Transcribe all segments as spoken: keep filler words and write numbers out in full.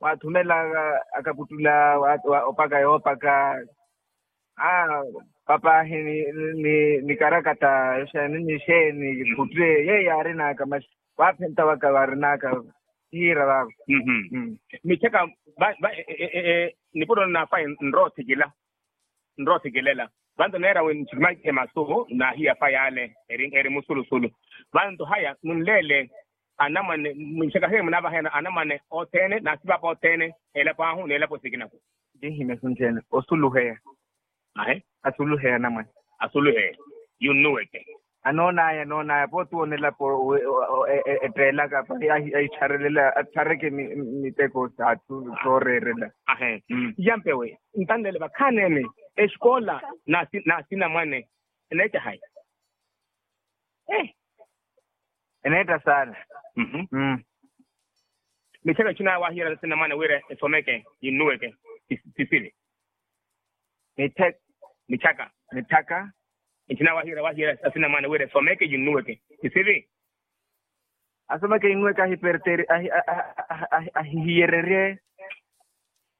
waathumela akakuttula opaka yoopaka. Aa, papaahi ni karakata, xeeni ni xeeni khutte yeeyo yaarinaka masi. Waaphenta waka waarinaka. Hiira vaavo. Michaka. Nipuro nnaafaya nrothikila. Nroothikilela. Vanto neera wi nchikimakihe masu naahiya fayale eri musulusulu. Vanto haya nunleele anamwane. Minxaka hiyo munaavahayana anamwane othene n'asipaapa othene. Elapo ahu n'elapo sikinaku. Tinhimya sunthene osuluheya. Ahe. Asuluheya anamwane. Asuluheya. Yunnuweke. Anoonaya anoonaya pooti woona elapo. Etteelaka pari ahittharelela atthareke miteko s'atthu. Sooreerela. Ahe. Yampewe ntanlele vakhaneene exkoola n'asinamwane. Eneetta hayi? Eneetta saana. Mitthaka ntthina waahiira asinamwane wira esomeke yinnuweke. Sisiri. Mitthaka. Mitthaka. Ntthina waahiira waahiira asinamwane wira esomeke yinnuweke. Sisiri. Asomeke yinnuweke ahiperteri ahihiyererye.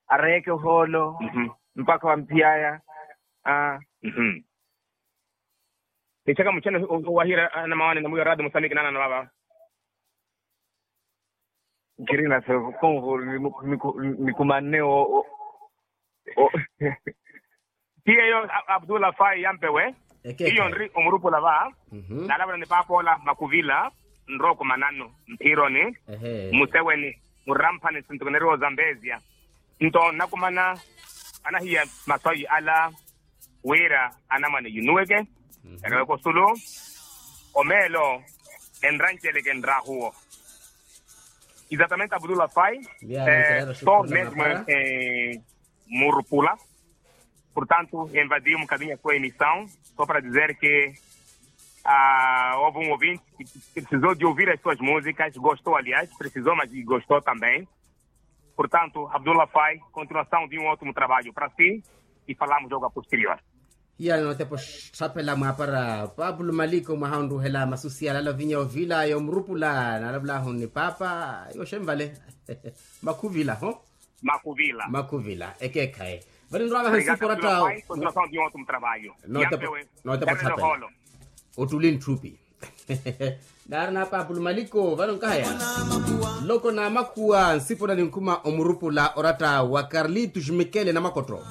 Areyeke ohoolo mpakha wamphiyaya. Mitthaka muchene owahiira anamawane na mwiyo raadi musamiki naanana vava. Nkirina konvo. Nikumanne o. Ti eyo abdullah fai yampewe. Iyo nri omurupula va. Nalavula ni paapoola makuvila nrooko mananu mphironi museweni muramphani sintukuneriwa ozambezia. Nto nnakumana anahiya maswayi ala wira anamwane yunuweke. Ereweke osulu omeelo enranceleke nrahuwo. Exatamente abdullah fai. Estou mesmo em murupula. Portanto invadi um bocadinho a sua emissão só para dizer que houve um ouvinte que precisou de ouvir as suas músicas, gostou aliás, precisou mas gostou também. Portanto abdullah fai, continuação de um ótimo trabalho para si. E falamos logo a posterior. Hiyale nootepa oxapela mwaapara paapulu maliko mwaha onruhela masusiyala alavinya ovila yoomurupula naalavulahu ni paapa. Yoxenvale. Makhuvila ho. Makhuvila makhuvila ekeekhaye. Vale nrwavaha nsipo oratta. Notepa oxapela. Ottuli ntthupi. Naari na paapulu maliko vano nkahaya. Loko na makhuwa nsipo na ninkhuma omurupula oratta wa carlitos mikele na makottho.